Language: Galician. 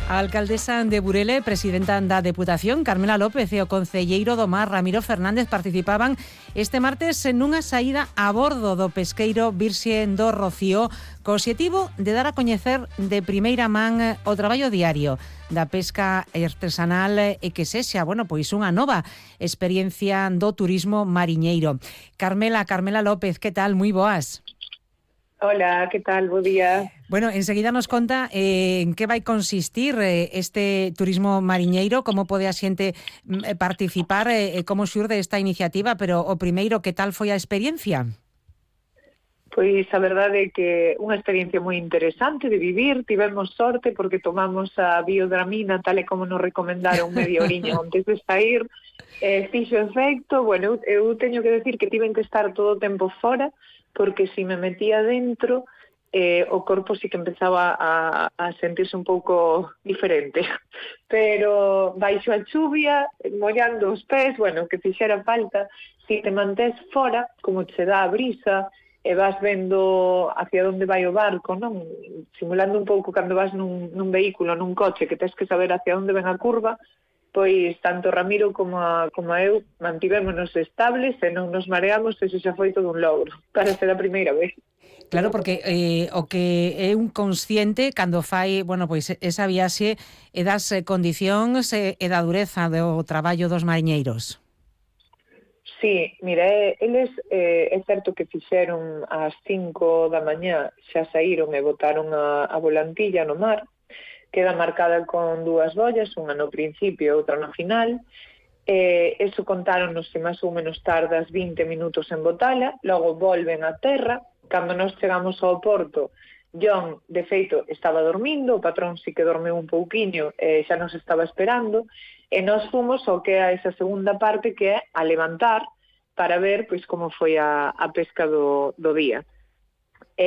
A alcaldesa de Burele, presidenta da Deputación, Carmela López, e o concelleiro do Mar, Ramiro Fernández, participaban este martes nunha saída a bordo do pesqueiro Virxe do Rocío, co obxectivo de dar a coñecer de primeira man o traballo diario da pesca artesanal e que sexa, pois unha nova experiencia do turismo mariñeiro. Carmela López, que tal? Moi boas. Hola, que tal? Bo día. Enseguida nos conta en que vai consistir este turismo mariñeiro, como pode a xente participar, como xurde esta iniciativa, pero o primeiro, que tal foi a experiencia? Pois a verdade é que unha experiencia moi interesante de vivir, tivemos sorte porque tomamos a biodramina tal e como nos recomendaron media oriña antes de sair, fixo efecto. Eu teño que decir que tiven que estar todo o tempo fora, porque se me metía dentro, o corpo sí que empezaba a sentirse un pouco diferente. Pero baixo a chuvia, mollando os pés, que fixera falta, se te mantés fora, como che dá a brisa, e vas vendo hacia onde vai o barco, non? Simulando un pouco cando vas nun vehículo, nun coche, que tens que saber hacia onde ven a curva, pois tanto Ramiro como eu mantivémonos estables e non nos mareamos, e xa foi todo un logro para ser a primeira vez. Claro, porque o que é un consciente cando fai, pois esa viaxe é das condicións e da dureza do traballo dos mariñeiros. Sí, mira, eles é certo que fixeron ás 5 da mañá, xa saíron e botaron a volantilla no mar, queda marcada con dúas bollas, unha no principio e outra no final. Eso contáronos que máis ou menos tardas 20 minutos en botala, logo volven a terra. Cando nós chegamos ao porto, John, de feito, estaba dormindo, o patrón sí que dormeu un pouquiño e xa nos estaba esperando, e nós fomos ao que é esa segunda parte, que é a levantar, para ver pois como foi a pesca do día.